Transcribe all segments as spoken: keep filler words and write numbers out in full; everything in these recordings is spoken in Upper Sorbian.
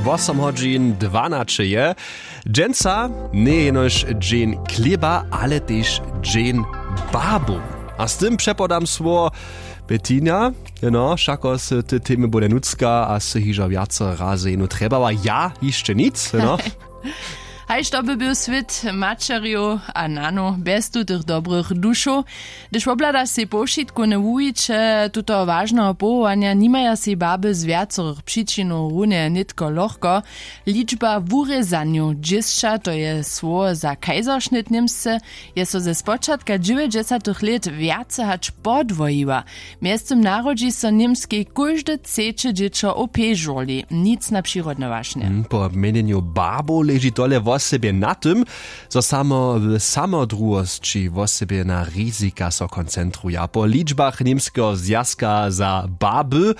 Wosom hodźin dwanaće je. Dźensa njeje jenož dźeń chlěba, ale tež dźeń babu. A z tym přepodam słowo Bettina. No, wšako sy ty temy bude nutřka a sy hižo wjace razy jenu trjebała, ja hišće nic, no. Hajž to by był swět maćerjow a nanow bjez tutych dobrych dušow. Hdyž wobhladaš sej powšitkowne wuwiće tutoho wažneho powołanja, nimaja sej baby z wjacorych přičinow runje nětko lochko. Ličba wurězanjow dźěsća, to je słowo za kaiserschnitt w němsce, je so ze spočatka dźewjećdźesatych lět wjace hač podwojiła. Mjeztym narodźi so w němskej kóžde třeće dźěćo w pježurli, nic na přirodne wašnje. Po měnjenju babow leži tole wosebje na tym, zo samo w samodruhosći wosebje na rizika so koncentruja. Po ličbach němskeho zwjazka za baby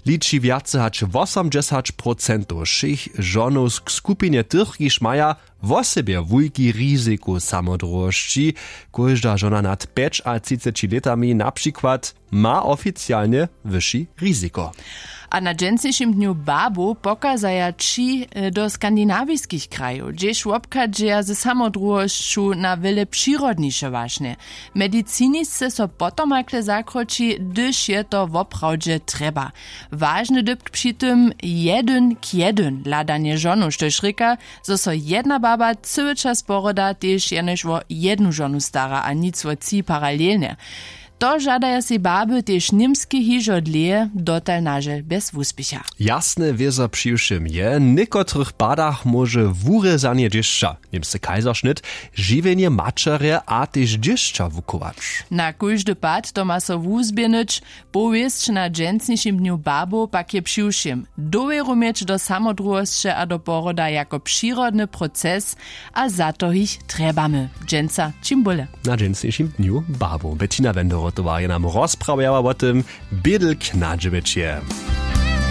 liči wjace hač wosomdźesać procentow wšěch žonow k skupinje tych, kiž maja wosebje wulki riziku samodruhosći. Kóžda žona nad pjećatřiceći lětami na přikład ma oficialnje wyši riziko. A na dźensnišim dnju babow pokazaja tři do skandinawiskich krajow, hdźež wobchadźeja ze samodruhosću na wjele přirodniše wašnje. Medicinisce so potom hakle zakroči, hdyž je to woprawdźe trjeba. Wažny dypk při tym, jedyn k jedyn hladanje žonow, štož rěka, zo so jedna baba cyły čas poroda tež jenož wo jednu žonu stara a nic wo tři paralelnje. To žadaja sej baby tež němske hižo dlěje, dotal nažel bjez wuspěcha. Jasne wězo přiwšěm je, w někotrych padach móže wurězanje dźěsća, němsce kaiserschnitt, žiwjenje maćerje a tež dźěsća wuchować. Na kóždy pad to ma so wuzběhnyć. Powěsć na dźensnišim dnju babow pak je přiwšěm: dowěru měć do samodruhosće a do poroda jako přirodny proces, a za to jich trjebamy dźensa čim bóle. Na dźensnišim dnju babow Bettina Wenderotowa je nam rozprawjała wo tym. Bědlk na dźewjeće.